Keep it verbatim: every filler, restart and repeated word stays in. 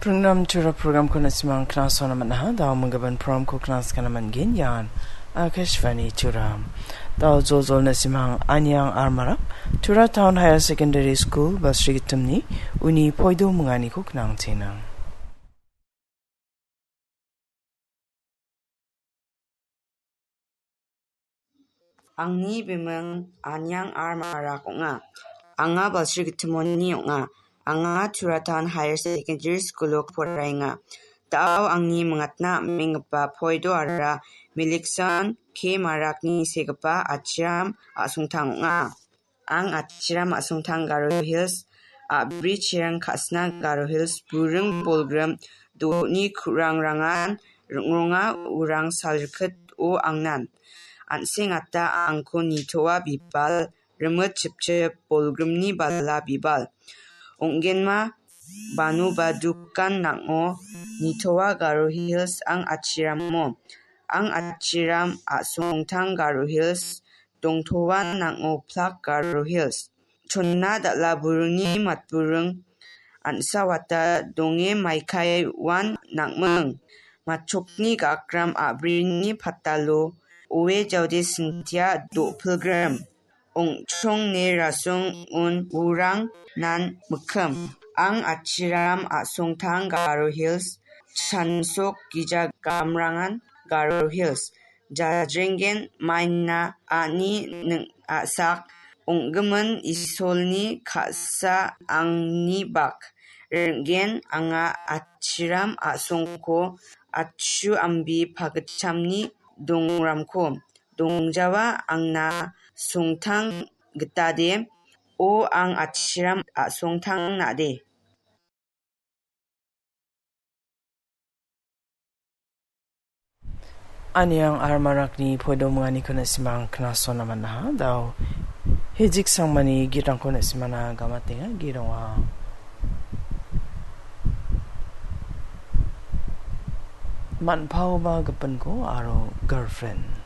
Pringam Tura programko nasimang knasona manaha, dao menggaban programko knaskana mangin yan Akashvani Tura. Dao zozol nasimang Anyang Armarak, Tura Town Higher Secondary School, Basrigitimni, uni poido menganiko knang tenang. Angni biming Anyang Armarak ong·a. Anga Balsrigitimoni ong·a. Anga Turatan Higher Secondary School-o poraenga. Dao angni mingatna am·enggipa poido ara Milikson K Marakni segipa Achiram a·songtang ong·a. Ang Achiram a·songtang Garo Hills, a·bri cherang ka·sna Garo Hills, buring bolgrim, do·ni ku·rangrangan ring·ronga urang salrikit o angnan. An·seng ata angko nitoa bibal, rimit chipchip, bolgrimni bala bibal. Ong·genma bano ba dukan nang·o nitoa Garo Hills ang Achiramo. Ang Achiram a·songtang Garo Hills, dongtoan nang·o plak Garo Hills. Chonna dal·a buringni matburing an·sawata donge maikaioan nang·ming. Matchokni gakram a·brini patalo oe jaode sintia do·pilgrim. Ong·chong ne rasong un urang nan mikkim. Ang Achiram a·songtang Garo Hills, chansok gija gamrangan Garo Hills. Jajrenggen maina ani ning·asak ong·gimin Isolni ka·sa angni bak. Ring·gen anga Achiram a·songko achu ambi pagitchamni dongramko. Dongjawa angna songtang gitade, o ang Achiram a·songtang nade. Aniang Armarakni poido manganiko nasimang knasona manaha, dao Hejik Sangmani gitrangko nasimana gamatenga, gironga. Man·paoba gipinko aro girlfriend.